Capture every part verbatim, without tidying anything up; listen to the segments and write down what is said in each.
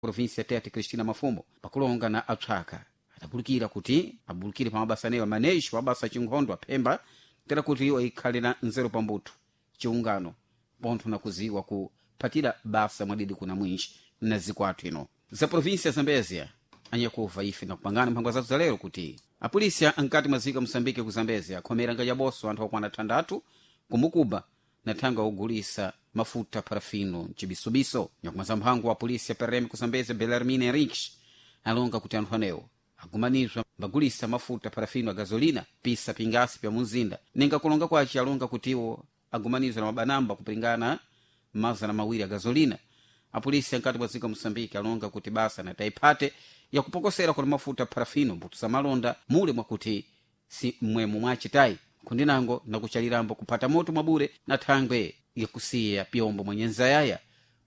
Província Tete, Cristina Mafumo, pakulonga na apsaka adabulukira kuti abulukire pa mabasa anewo manejo mabasa achinkhondo aphemba tera kuti iwo ikhale na nzeru pambuthu, chiungano pontho na kuziwa kuphatira basa mwadidi kuna mwinji na ziko athu ino za província ya Zambezia. Anyakuva ife nakupangana mphangwa zathu zalero kuti apolisi ankati mwa ziko Moçambique ku Zambezia akhomera ngajaboso anthu okwana thandathu kumukuba na thanga ogulisa mafuta parafino mcibisubiso. Nyakumaza mphango wa polisi ya P R M ku Zambezia, Belarmine Henriques, alonga kuti anthu anewo agumanizwa mbagulisa mafuta parafino a gasolina pisa pingasi pya munzinda. Ninga kulonga kwace alonga kutiwo agumanizwa na mabanamba kupingana mazana mawiri a gasolina. Apolisi ankati mwa dziko Moçambique alonga kuti basa na taiphate yakupokosera kuti mafuta parafino mbuto za malonda mule mwakuti si mmwemo mwacitayi kundinango nakuchalirambo kuphata moto mwabure na thangwe yakusiya pyombo mwenye nzayaya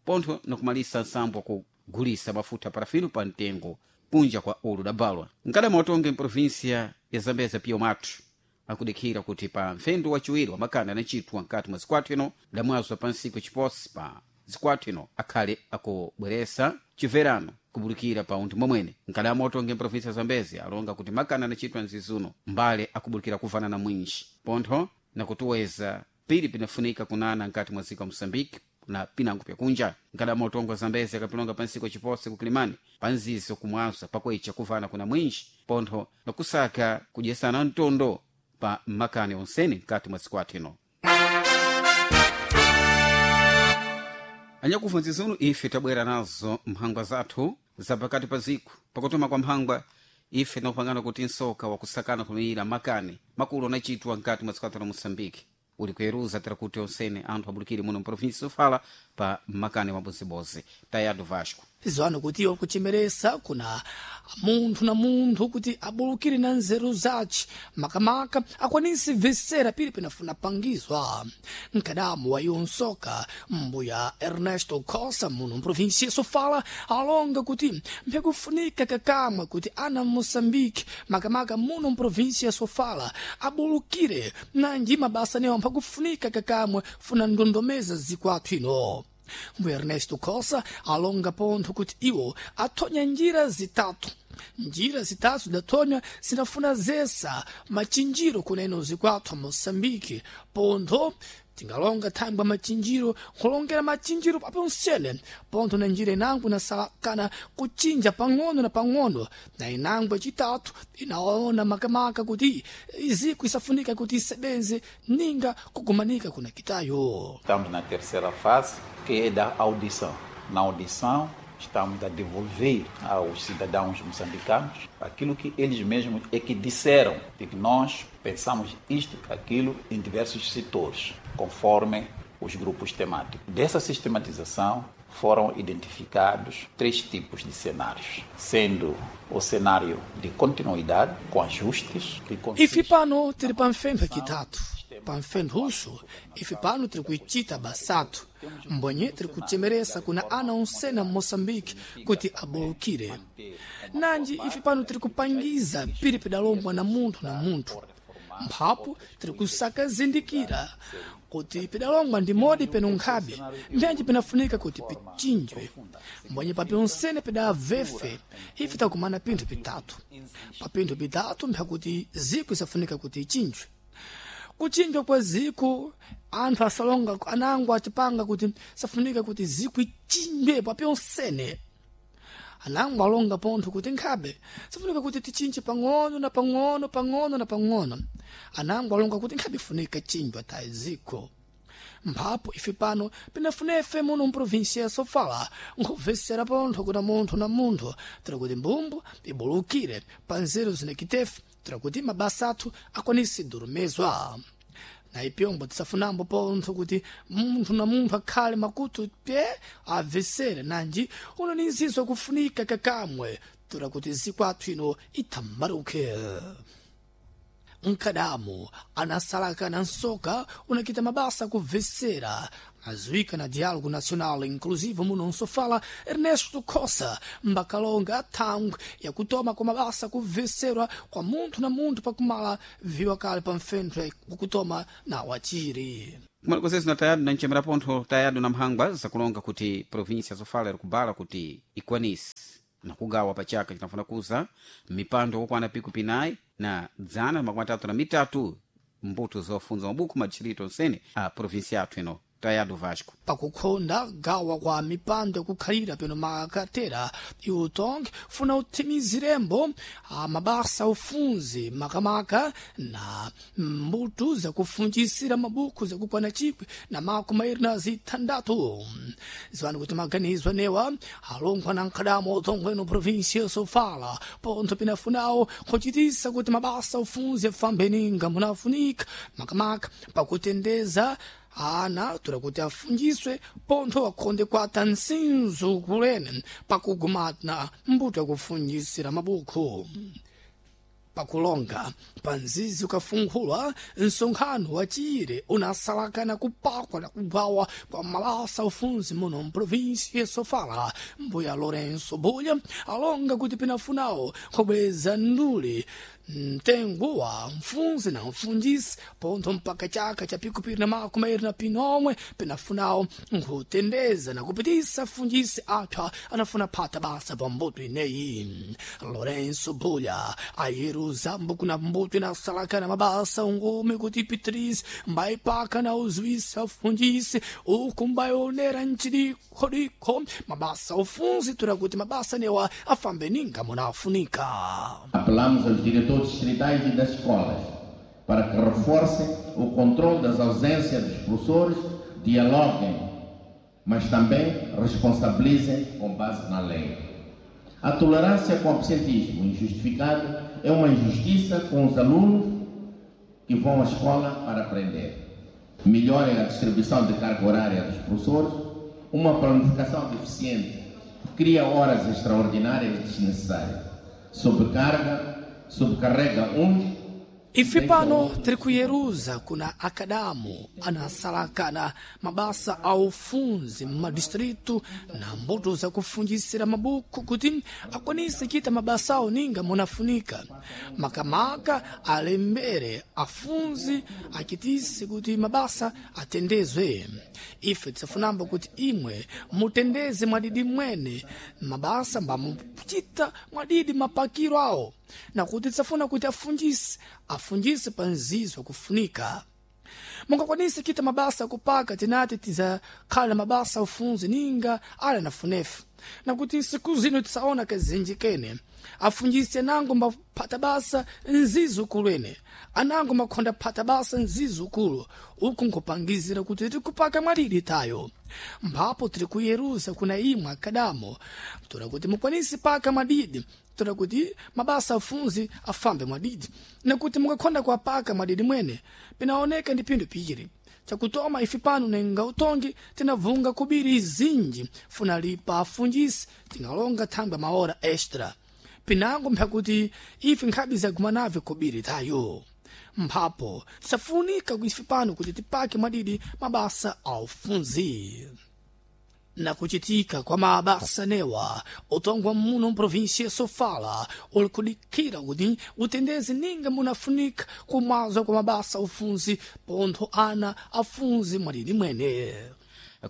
pontho nakumalisa nsambo wakugulisa mafuta parafino pa mtengo kunja kwa ulu dabalwa. Mkadama watonge mprovinsia ya Zambeza pio mathu akudikhira kuti pa mfendo wachiwiri wa makanda anacitwa mkati mwa zikwathu ino damwazwa pa nsiku chiposi pa zikwathu ino akhale akubweresa chimverano kubulukira pa unthu momwene. Mkadama watonge mprovinsia ya Zambezi alonga kuti makanda anacitwa mzizuno mbale akubulukira kuvana na mwinji pontho nakutuweza pili pinafunika kunana nkati mwa ziko wa Moçambique na pinango pyakunja. Nkadama utongo wa Zambezi akapilonga pansiko chipose kukilimani panzizo kumwaza pakwecha kuvana kuna mwinji pontho nakusaka kudyesana mtondo pa makani onsene mkati mwa siku athu ino. Anyakuva nzizunu ife tabwera nazo mphangwa zathu za pakati pa ziku. Pakutuma kwa mphangwa ife tinakupangana kuti nsoka wakusakana kumira makani makulu anachitwa mkati mwa dziko la Moçambique uli kuyeruza tera kuti onsene anthu abulukire muno mprovinsi sofala pa makani wabozibozi. Tayado Vasco. Zwano kuti iwo kuchemeresa kuna munthu na munthu kuti abulukire na nzeru zace, makamaka akwanise vesera pili pinafuna pangizwa. Mkadamu wa iwo nsoka mbuya Ernesto Cossa muno mprovinsia Sofala alonga kuti mpyakufunika kakamwe kuti ana Moçambique, makamaka muno mprovinsia Sofala, abulukire nanji mabasa newo mphakufunika kakamwe funa ndondomeza zikwathu ino. Mbuya Ernesto Cossa alonga pontho kuti iwo athonya njira zitatu. Njira zitatu zidathonya zinafuna zesa machinjiro kuneno zikwathu a Moçambique. Pontho tingalonga thangwi machinjiro nkhulongera machinjiro paponsene pontho na njira inango inasalakana kuchinja pang'ono na pang'ono, na inango yacitatu inaona makamaka kuti iziko isafunika kuti isebenze ninga kugumanika kuna kitayo. Estamos na terceira fase, que é da audição. Na audição, estamos a devolver aos cidadãos moçambicanos aquilo que eles mesmos é que disseram, de que nós pensamos isto, aquilo, em diversos setores, conforme os grupos temáticos. Dessa sistematização foram identificados três tipos de cenários, sendo o cenário de continuidade, com ajustes, que consiste. Ife pano tiri pamfempho yacitatu, pamfempho uxo ife pano tiri kuicita basatu mbonye tiri kuchemeresa kuna ana onsena Moçambique kuti abulukire. Nanji ife pano tiri kupangiza pili pidalombwa na munthu na munthu, mphapo tiri kusaka zindikira kuti pidalongwa ndi modi peno nkhabe mbyanji pinafunika kuti pichinjwe. Mbonye papi onsene pidavefe ife takumana pinthu pitatu. Pa pinthu pitatu mphakuti ziko isafunika kuti ichinjwe. Kuchinjwa kwa ziko anthu asalonga anango acipanga kuti safunika kuti ziko ichinjwe papi onsene. Anango alonga pontho kuti nkhabe safunika kuti tichinje pang'ono na pang'ono, pang'ono na pang'ono. Anango alonga kuti nkhabe ifunika chinjwa tayi ziko. Mphapo ife pano pinafunefe muno mprovinsia ya Sofala nkhubvesera pontho kuna munthu na munthu tira kuti mbumbu ibulukire pa nzeru zinakitefe tira kuti mabasa athu akwanise durumezwa. Na ipyombo tisafunambo pontho kuti munthu na munthu akhale makutu pye abvesere, nanji uno ni nzizo kufunika kakamwe tura kuti zikwathu ino ithambaruke. Mkadamu anasalaka na nsoka unakita mabasa kubvesera azuika na Diálogo Nacional Inclusivo muno nsofala Ernesto Cossa mbakalonga thangwi yakutoma kwa mabasa kubveserwa kwa munthu na munthu pakumala viwa kale pa mfentho wakutoma na wachiri. Kumalikozezi na tayadu na nchemera pontho tayadu na mphangwa zakulonga kuti provinsia zofala ikubala kuti ikwanise nakugawa pachaka cinafuna kuza mipando kokwana piku pinayi na dzana makumi atatu na mitatu mbuto zofunza mabuku madishirito onsene a provinsia yathu ino tayadu Vasco. Pakukhonda gawa kwa mipando yakukhalira peno makatera iutongi funa uthimizirembo mabasa ufunzi makamaka na mbuto zakufunjisira mabuku zakukwana chikwi na makumi mairi na zithandatu. Ziwani kuti maganizo anewa alongwa na nkhadamo utongweno provinsia Sofala pontho pinafunawo kuchitisa kuti mabasa ufunzi afambe ninga munafunika makamaka pakutendeza ana tura kuti afunjiswe pontho akhonde kwata nsinzu kulene pakugumana mbuto yakufunjisira mabuku. Pakulonga panzizi ukafunkhulwa msonkhano wa chire unasalakana kupakwa na kugawa kwa mabasa ufunzi muno mprovinsi ya Sofala. Mbuya Lourenço Bulha alonga kuti pinafunawo kubweza ndule mtengo wa mfunzi na mfunjisi pontho mpaka chaka cha pikupiri na makumi mairi na pinomwe pinafunawo nkutendeza na kupitisa funjisi apha anafuna phata basa pa mbuto ineyi. Lourenço Bulha ayeruza mbuku na mbuto inasalakana mabasa ungumi kuti Patrice mbaipaka na uzuisa funjisi uku mbaionera nchidikhodikho mabasa ufunzi tura kuti mabasa newa afambe ninga munafunika. Apelamos aos diretores distritais e das escolas para que reforcem o controle das ausências dos professores, dialoguem, mas também responsabilizem com base na lei. A tolerância com o absentismo injustificado é uma injustiça com os alunos que vão à escola para aprender. Melhorem a distribuição de carga horária dos professores, uma planificação deficiente cria horas extraordinárias desnecessárias, sobrecarga, sobrecarrega uns. Ife pano tiri kuyeruza kuna akadamu anasalakana mabasa a ufunzi mmadistritu na mbuto zakufunjisira mabuku kuti akwanise kita mabasa awo ninga munafunika makamaka alembere afunzi achitise kuti mabasa atendezwe. Ife tisafunamba kuti imwe mutendeze mwadidi mwene mabasa mbamuchita mwadidi mapakiro awo nakuti tisafuna kuti afunjise afunjise pa nzizo kufunika. Mungakwanise kita mabasa kupaka tinati tizakhala mabasa ufunzi ninga ala nafunefu nakuti nsiku zino tisaona kazinji kene afunjise anango mbaphata basa nzizukulu ene anango makhonda phata basa nzizukulu uku nkupangizira kuti tikupaka mwalili tayo mphapo tiri kuyeruza kuna imwe akadamo tora kuti mukwanise paka mwadidi tora kuti mabasa afunzi afambe mwadidi nakuti mukakhonda kuapaka mwadidi mwene pinaoneka ndi phindu piri chakutoma ife pano nenga utongi tinavunga kubiri izinji funa lipa afunjisi tingalonga thangwi maora extra pinango mphakuti ife nkhabi zagumanave kubiri tayo mphapo tisafunika ife pano kuti tipake mwadidi mabasa aufunzi. Nakuchitika kwa mabasa newa utongwa muno mprovinsia Sofala uli kudikira kuti utendeze ninga munafunika kumazwa kwa mabasa ufunzi pontho ana afunzi mwadidi mwene.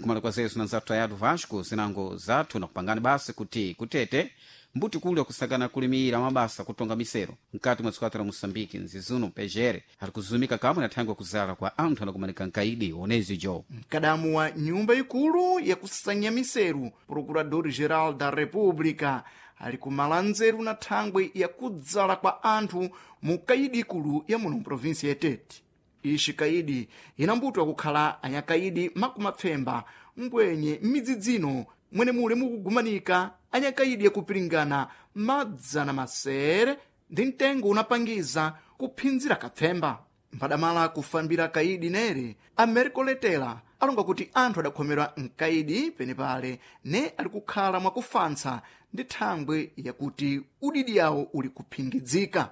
Kumala kwa zesu na nzathu tayatu Vasco zinango zathu nakupangani basi kuti kutete mbuti kuli akusakana kulimira mabasa kutonga misero mkati mwa dziko la Moçambique nzizuno pejere ari kuzumika kamwe na thangwi kuzala kwa anthu anakumanika nkaidi onezi jo. Mkadamu wa nyumba ikulu yakusanya miseru Procurador-Geral da República ali kumala nzeru na thangwi yakudzala kwa anthu mu kaidi ikulu ya muno mprovinsi ya Tete. Ixi kaidi inambutwa kukhala anyakaidi makumapfemba mbwenye m'midzidzino mwene mule mukugumanika anyakaidi yakupiringana madzana masere ndi mtengo unapangiza kuphinzira kapfemba. Mphadamala kufambira kaidi nere Americo Letela alonga kuti anthu adakhomerwa mkaidi penepale ne ali kukhala mwakufantsa ndi thangwi yakuti udidi yawo uli kuphingidzika.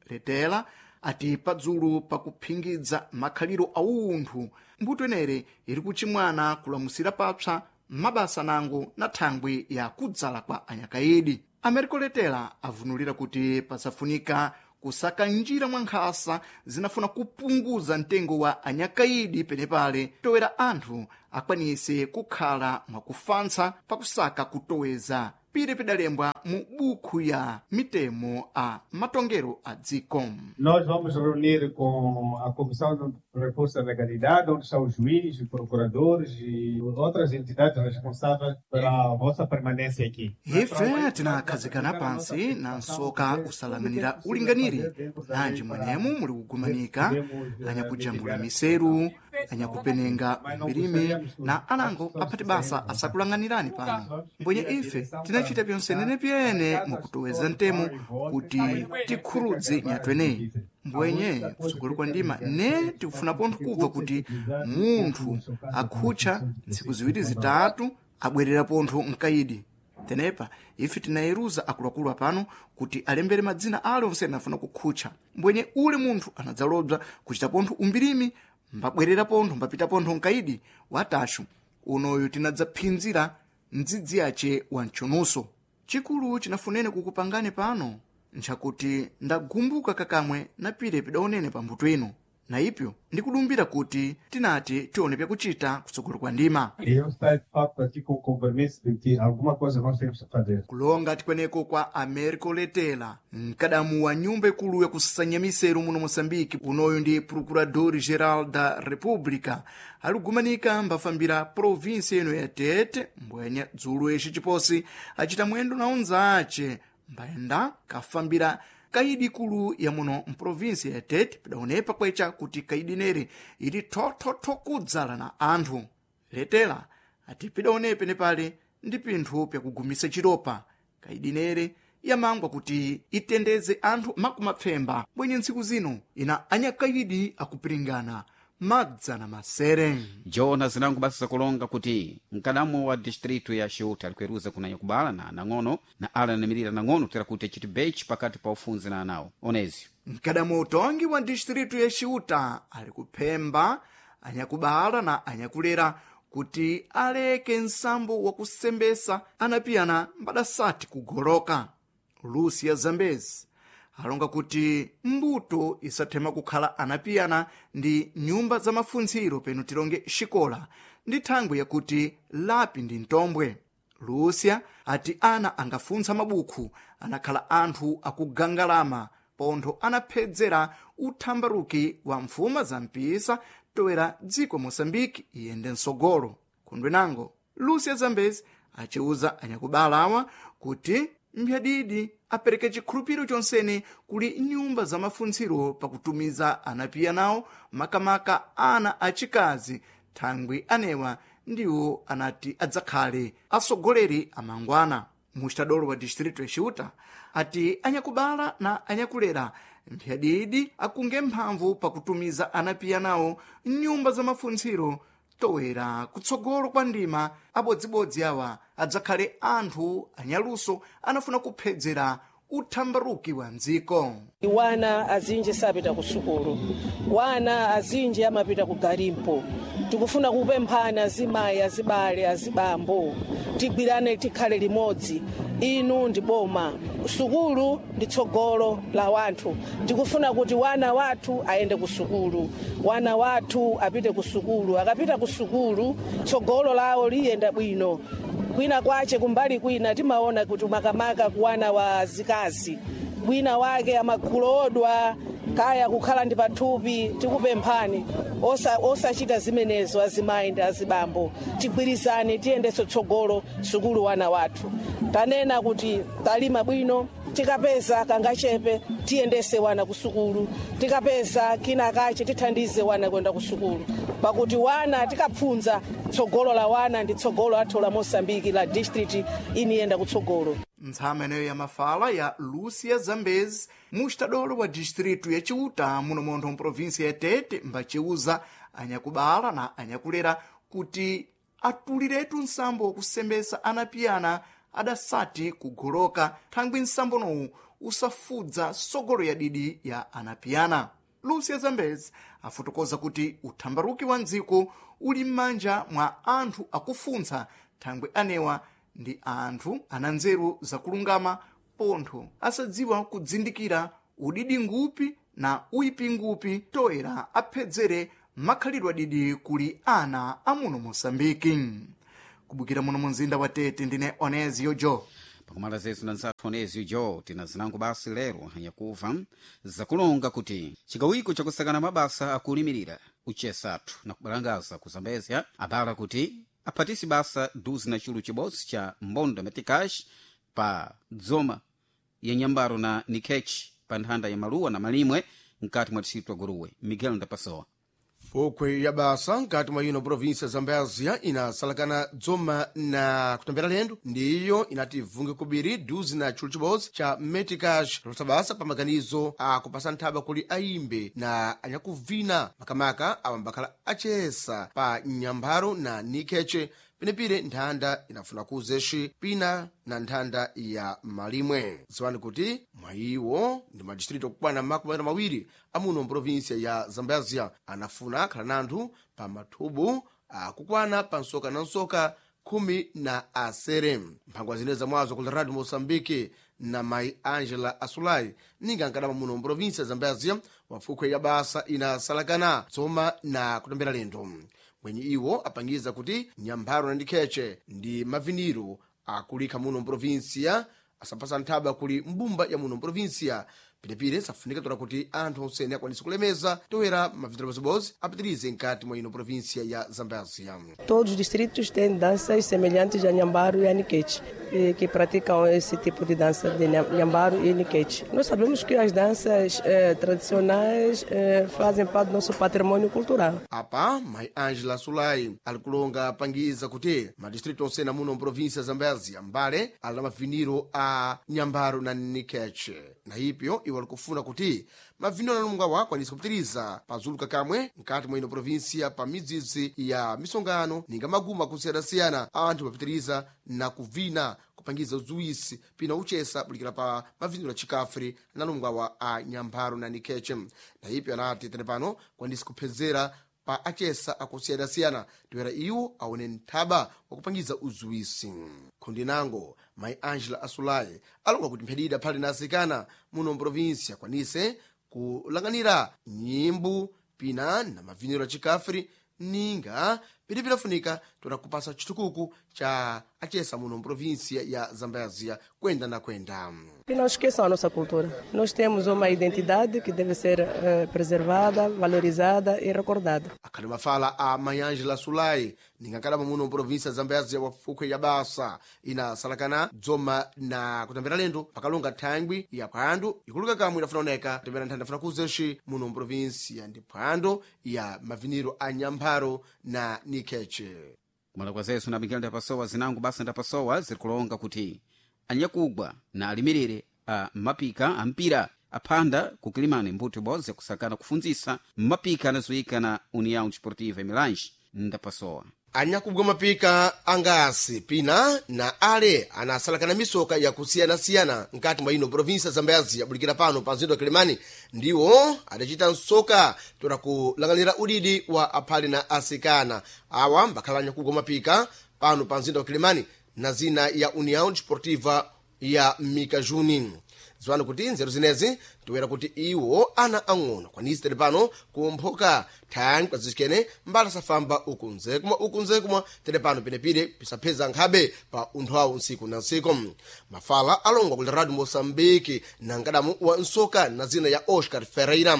Letela ati padzulu pakuphingidza makhaliro a unthu mbuto enere iri kuchimwana kulamusira papsa mabasa nango na thangwi ya kudzala kwa anyakaidi. Americo Letela avunulira kuti pasafunika kusaka njira mwa nkhasa zinafuna kupunguza mtengo wa anyakaidi penepale towera anthu akwanise kukhala mwakufansa pakusaka kutoweza pire pidalembwa mu bukhu ya mitemo a matongero a dziko. Nós vamos reunir com a Comissão de Reforço da Legalidade, onde estão os juízes, os procuradores e outras entidades responsáveis pela vossa permanência aqui. Ife tinakhazikana pansi na nsoka usalanganira ulinganire nanji mwenemu muli kugumanika anyakujambula miseru, anyakupenenga mbirime na anango aphati basa asakulanganirani pano. Mbwenye ife tinachita pyonsenene pyene mukutoweza mtemo kuti tikhurudze nyatweneyi. Mbwenye kutsogolo kwa ndima ne tikufuna pontho kubva kuti munthu akhutcha ntsiku ziwiri zitatu abwerera pontho mkaidi. Tenepa ife tinayeruza akuluakulu apano kuti alembere madzina ale onse anafuna kukhutcha. Mbwenye ule munthu anadzalobza kuchita pontho umbirimi mbabwerera pontho mbapita pontho mkaidi watashu unoyu tinadzaphinzira mdzidzi yace wa mchunuso. Chikulu chinafunene kukupangani pano nchakuti ndagumbuka kakamwe na pire pidaonene pambuto ino na ipyo ndikudumbira kuti tinati tione pyakuchita kutsogolo kwa ndima. E eu estou, de facto, aqui com o compromisso de que alguma coisa nós temos que fazer. Kulonga tikweneko kwa Americo Letela, mkadamu wa nyumba ikulu yakusanya miseru muno Moçambique, unoyu ndi Procurador-Geral da República, aligumanika mbafambira província ino ya Tete, mbwenya dzulo ixi chiposi acita mwendo na unzace mbayenda kafambira kaidi ikulu ya muno mprovinsia ya Tete pidaonepa kwecha kuti kaidi nere ili thothotho kudzala na anthu. Letela ati pidaonepe nepale ndi pinthu pyakugumisa chiropa. Kaidi nere yamangwa kuti itendeze anthu makumapfemba bwenye ntsiku zino ina anyakaidi akupiringana madzana masere. Jona zinango basa zakulonga kuti mkadamu wa distritu ya Xiuta alikuweruza kunanya kubala na nang'ono na ala anamirira nang'ono kutera kuti achiti bechi pakati pa ufunzi na anawo onezi. Mkadamu utongi wa distritu ya Xiuta ali kuphemba anyakubala na anyakulera kuti aleke nsambo wakusembesa anapiyana mbadasati kugoloka. Lucia Zambezi alonga kuti mbuto isathema kukhala anapiyana ndi nyumba za mafuntsiro peno tilonge xikola ndi thangwi yakuti lapi ndi mtombwe. Lucia ati ana angafuntsa mabukhu anakhala anthu akugangalama pontho anaphedzera uthambaruki wa mfuma za mpisa toera dziko Moçambique iyende msogolo. Kundwenango Lucia Zambezi aciuza anyakubala awa kuti mphyadidi apereke chikhulupiriro chonsene kuli nyumba za mafuntsiro pakutumiza anapiya nawo makamaka ana achikazi thangwi anewa ndiwo anati adzakhale atsogoleri amangwana. Muxitadolo wa distritu ya Xiuta ati anyakubala na anyakulera mphyadidi akunge mphamvu pakutumiza anapiya nawo nyumba za mafuntsiro towera kutsogolo kwa ndima abodzibodzi awa adzakhale anthu anyaluso anafuna kuphedzera uthambaruki wa mdziko. Wana azinji sapita ku sukulu, wana azinji amapita ku garimpo. Tikufuna kupemphana azimayi, azibale, azibambo, tigwirane tikhale limodzi. Inu ndi boma, sukulu ndi tsogolo la wanthu. Tikufuna kuti wana wathu ayende ku sukulu, wana wathu apite ku sukulu. Akapita ku sukulu tsogolo lawo liyenda bwino. Kwina kwache kumbali kwina timaona kuti makamaka kuwana wa zikazi wina wake amakhulodwa kaya kukhala ndi pathupi. Tikupemphani osachita osa zimenezo azimayi ndi azibambo, tigwirizane tiyendetse tsogolo sukulu wana wathu. Tanena kuti talima bwino, tikapeza kangachepe tiyendese wana ku sukulu, tikapeza kina kache tithandize wana kwenda ku sukulu, pakuti wana tikapfunza tsogolo la wana ndi tsogolo athu la Mosambiki la district iniyenda kutsogolo. Ntsama ineyo ya mafala ya Lucia Zambezi muxitadolo wa distritu ya Ciuta muno montho mprovinsia ya Tete mbaciuza anyakubala na anyakulera kuti atuliretu nsambo wakusembesa anapiyana adasati kugoloka thangwi nsambonowu usafudza sogolo ya didi ya anapiyana. Lucia Zambezi afotokoza kuti uthambaruki wa mdziko uli m'manja mwa anthu akufuntsa thangwi anewa ndi anthu ana nzeru zakulungama pontho asadziwa kudzindikira udidi ngupi na uipi ngupi toera aphedzere makhalidwe adidi kuli ana amuno mosambiki. Kubukira muno munzinda wa Tete, ndine Onezio Jo. Pakumala zetu na nzathu Onezio Jo, tina zinango basi lero hanyakuva zakulonga kuti chikawiko chakusakana mabasa akulimirira uchesathu na kubalangaza kuzambezya abala kuti aphatisi basa duzi na chulu chibodzi cha mbondo metikash pa dzoma ya nyambaro na nikechi pa nthanda ya maluwa na malimwe mkati mwa distritu wa Guruwe. Miguel Ndapasowa. Fokwe ya basa nkati mwa ino província Zambésia inasalakana dzoma na kutambira lendo, ndiyo inati vunge kubiri duzi na chulu chibodzi cha meticash losa basa pa maganizo akupasa nthaba kuli ayimbe na anyakuvina makamaka awa mbakhala achesa pa nyampharo na nikheche penepire nthanda inafuna kuzeshi pina na nthanda ya malimwe. Ziwani kuti mwayiwo ndi madistrito okukwana makumi atatu mawiri amuno mprovinsia ya Zambésia anafuna khala nanthu pa mathubu akukwana pa nsoka na nsoka khumi na asere. Mphangwa zine zamwazo kula Radio Moçambique na mayi Angela Asulai ninga nkadama muno mprovinsia ya Zambésia wafukhwe ya basa inasalakana dzoma na kutambira lendo mwenye iwo apangiza kuti nyampharo na ndikheche ndi maviniro akulikha muno mprovinsia asapasa nthaba kuli mbumba ya muno mprovinsia. Pirepire safunika tola kuti anthu onsene akwanise kulemeza toera maviniro abozibozi apitirize nkati mwa ino província ya Zambésia. Todos os distritos têm danças semelhantes a Nhambaro e a Niquete, e que praticam esse tipo de dança de Nhambaro e Niquete. Nós sabemos que as danças eh, tradicionais eh, fazem parte do nosso patrimônio cultural. Apa, mai Angela Sulai alikulonga apangiza kuti madistrito onsene amuno mprovíncia ya Zambésia mbale ali na maviniro a Nhambaro na Niquete. Na ipyo iwo alikufuna kuti maviniro analunga wa akwanise kupitiriza pazuluka kamwe nkati mwa ino província pa midzidzi ya misongano ninga maguma akusiyana-siyana anthu apitiriza na kuvina kupangiza uzuwisi pina uchesa bulikira pa maviniro a chikafri analungwa wa a Nyampharo na Nikheche. Na ipyo anati tene pano kwanise kuphedzera pa achesa akusiyana-siyana toera iwo aone nthaba wakupangiza uzuwisi. Khundi nango mayi Angela Asulai alonga kuti mphedida phali na asikana muno mprovinsia akwanise kulanganira nyimbo pina na maviniro a chikafri ninga piripiri afunika toera kupasa chitukuku cha achesa muno mprovinsia ya Zambésia kwenda na kwenda. E não esqueçam a nossa cultura. Nós temos uma identidade que deve ser eh, preservada, valorizada e recordada. Akhali mafala a Mayangela Sulai ningakalama muno mprovinsia ya Zambésia wa fukwe ya basa inasalakana dzoma na kutambira lendo pakalonga thangwi ya phwando ikuluka kamwe idafuna oneka kutambira nthanda afuna kuzeshi muno mprovinsia ndi phwando ya maviniro a Nyampharo na Nikheche. Kumala kwa zesu na Miguel Ndapasowa zinango basa Ndapasowa zirikulonga kuti anyakugwa na alimirire a mapika ampira aphanda kukilimani mbuto ibodzi yakusakana kufundzisa mapika anazoyika na União Desportiva Milange. Ndapasowa. Anyakugwa mapika angasi pina na ale anasalakana misoka yakusiyana-siyana nkati mwa ino província ya Zambésia bulikira pano pa mzinda wa Kilimani ndiwo adacita nsoka tola kulanganira udidi wa aphale na asikana awa mbakhala anyakugwa mapika pano pa mzinda wa Kilimani na zina ya União Desportiva ya Mikajuni. Ziwani kuti nzeru zinezi tiwera kuti iwo ana ang'ono kwanisi tili pano kumphoka thangwi kwazikene mbala safamba uku nzekumwa uku nzekumwa tili pano penepire pisapheza nkhabe pa unthu awo ntsiku na ntsiku. Mafala alongwa kuli Radio Moçambique na nkadamu wa nsoka na zina ya Oscar Ferreira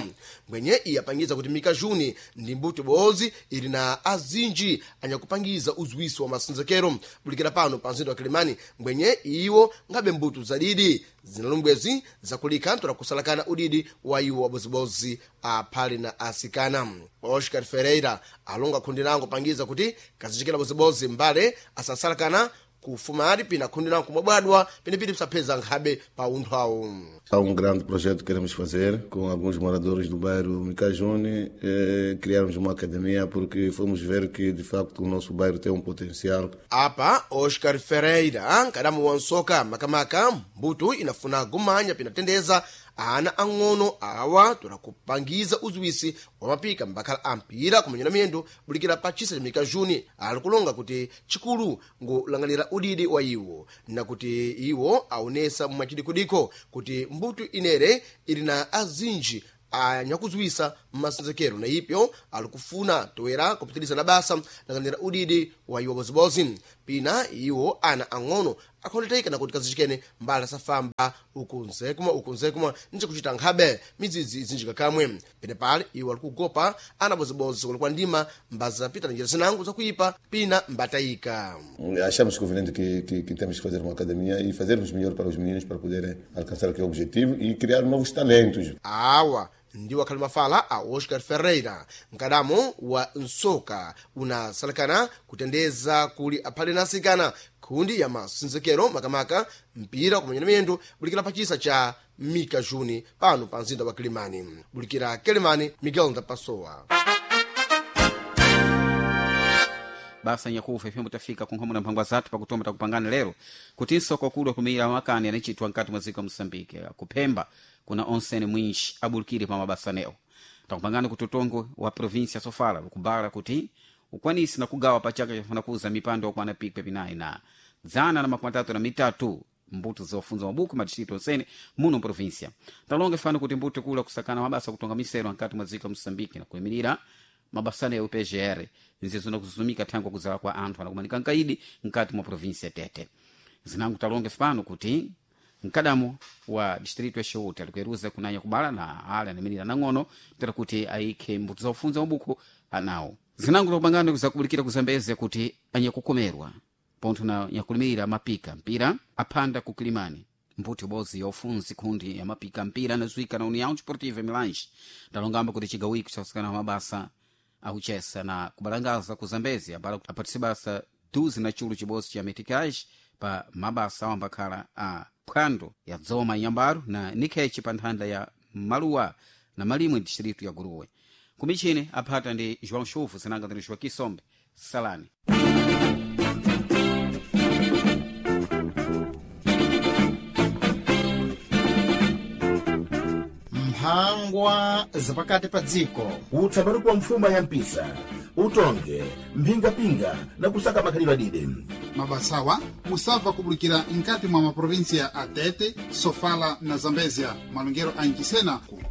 mwenye iye apangiza kuti Mikajuni ndi mbuto bozi ili na azinji anyakupangiza uzuwisi wa masinzekero bulikira pano pa mzinda wa Kilimani mwenye iwo ngabe mbuto zadidi zinalumbwezi zakulika ntola kusalakana udidi wa iwo wabozibozi aphale na asikana. Oscar Ferreira alonga khundi lango pangiza kuti kazichikira bozibozi mbale asasalakana kufumali pina khundi lango kumwabwadwa penepiti pisapheza nkhabe pa unthu awo. Há um grande projeto que queremos fazer com alguns moradores do bairro Micajune, eh, criarmos uma academia porque fomos ver que de facto o nosso bairro tem um potencial. Apa Oscar Ferreira nkadamu wa nsoka makamaka mbuto Mbuto inafuna gumanya pinatendeza ana ang'ono awa tola kupangiza uziwisi wa mapika mbakhala a mpira kumenya na miyendo bulikira pa chisa cha mika juni. Ali kulonga kuti chikulu ngulang'anira udidi wa iwo na kuti iwo aonesa mwachidikudiko kuti mbuto inere ili na azinji anyakuziwisa mmasenzekero, na ipyo ali kufuna toera kupitiliza na basa lang'anira udidi wa iwo bozibozi. Pina iwo ana ang'ono akhondeteka na kuti kazichikene mbala safamba uku nzekumwa uku nzekumwa nje kuchita nkhabe midzidzi izinjika kamwe. Pene pale iwo ali kugopa ana bozibozi kulekwa ndima mbazapita na njira zinango zakuipa pina mbatayika. Achamos conveniente que, que, que temos que fazer uma academia e fazermos melhor para os meninos para poderem alcançar aquele objetivo e criar novos talentos. Awa ndiwo akhali mafala a Oscar Ferreira, mkadamo wa nsoka unasalakana kutendeza kuli aphale na asikana khundi ya masenzekero makamaka mpira kumenya miyendo bulikira pachisa cha Mika Juni pano pa mzinda wa Kilimani. Bulikira Kilimani, Miguel Ndapasowa. Basa nyakufa ifembo tafika kunkhomo na mphangwa zathu pakutoma takupangana lero kuti nsoko kulwa kumira makani anachitwa nkati mwa dziko la Moçambique kuphemba kuna onsene mwinji abulikire pa mabasanewo. Takupangana kuti utongo wa província Sofala ukubala kuti ukwanisi na kugawa pa chaka chafuna kuza mipando okwana pikwe pinayi na dzana na makumi atatu na mitatu mbuto zofunza mabuku madistrito onsene muno província. Talonga fano kuti mbuto kula kusakana mabasa kutonga misero nkati mwa dziko la Moçambique na kuyimirira mabasana ya U P G R nzizo nakuzumika thangwa kuzala kwa anthu anakumanika nkaidi nkati mwa província Tete. Zinangu talonge fano kuti mkadamo wa distrito ya Chiuta alikueruza kunanya kubala na ale anamirira nang'ono tera kuti ayikhe mbuto zofunza mabuku anawo. Zinangu takupangana zakubulikira kuzambeze kuti anyakukomerwa pontho na nyakulimirira mapika mpira aphanda ku Kilimani mbuto ibodzi ya ufunzi khundi ya mapika mpira anazuika na União Desportiva Milange. Talongamba kuti chigawiko chakusikana mabasa akuchesa na kubalangaza ku Zambezi abala apatise basa duzi na chulu chibodzi cha meticage pa mabasa awo ambakhala a phwando ya dzoma inyambaro na nikhechi pa nthanda ya maluwa na malimwe distrito ya Guruwe. Kumichini aphata ndi João Chuvu zinanga ndi Joaquim Sombe. Salani. Mphangwa zapakati pa dziko. Utsaparuku wa mfuma ya mpisa utonge mphingapinga na kusaka makhalidwe adide. Mabasawa musabva kubulikira nkati mwa maprovinsia a Tete, Sofala na Zambezia, malongero a Nchisena ku